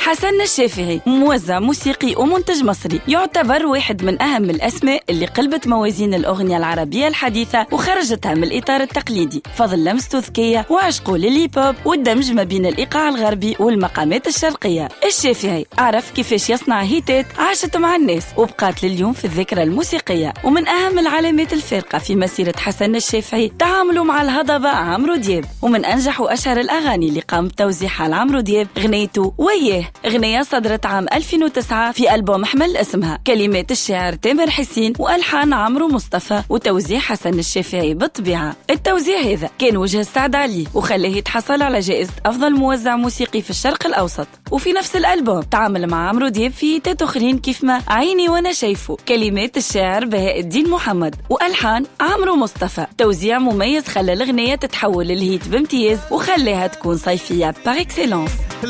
حسن الشافعي موزع موسيقي ومنتج مصري، يعتبر واحد من أهم الأسماء اللي قلبت موازين الأغنية العربية الحديثة وخرجتها من الإطار التقليدي، فضل لمسته ذكية وعشقه لل hip hop والدمج ما بين الإيقاع الغربي والمقامات الشرقية. الشافعي عرف كيفاش يصنع هيتات عاشت مع الناس وبقات لليوم في الذاكرة الموسيقية. ومن أهم العلامات الفارقة في مسيرة حسن الشافعي تعامله مع الهضبة عمرو دياب، ومن أنجح وأشهر الأغاني اللي قام بتوزيعها لعمرو دياب غنيته وياه، غنية صدرت عام 2009 في ألبوم حمل اسمها، كلمات الشاعر تامر حسين وألحان عمرو مصطفى وتوزيع حسن الشافعي بالطبيعة. التوزيع هذا كان وجه السعد عليه وخلاه يتحصل على جائزة أفضل موزع موسيقي في الشرق الأوسط. وفي نفس الألبوم تعامل مع عمرو دياب في هيتات أخرين كيف ما عيني وأنا شايفه، كلمات الشاعر بهاء الدين محمد وألحان عمرو مصطفى، توزيع مميز خلى الأغنية تتحول لل hit بامتياز وخلاها تكون صيفية par excellence.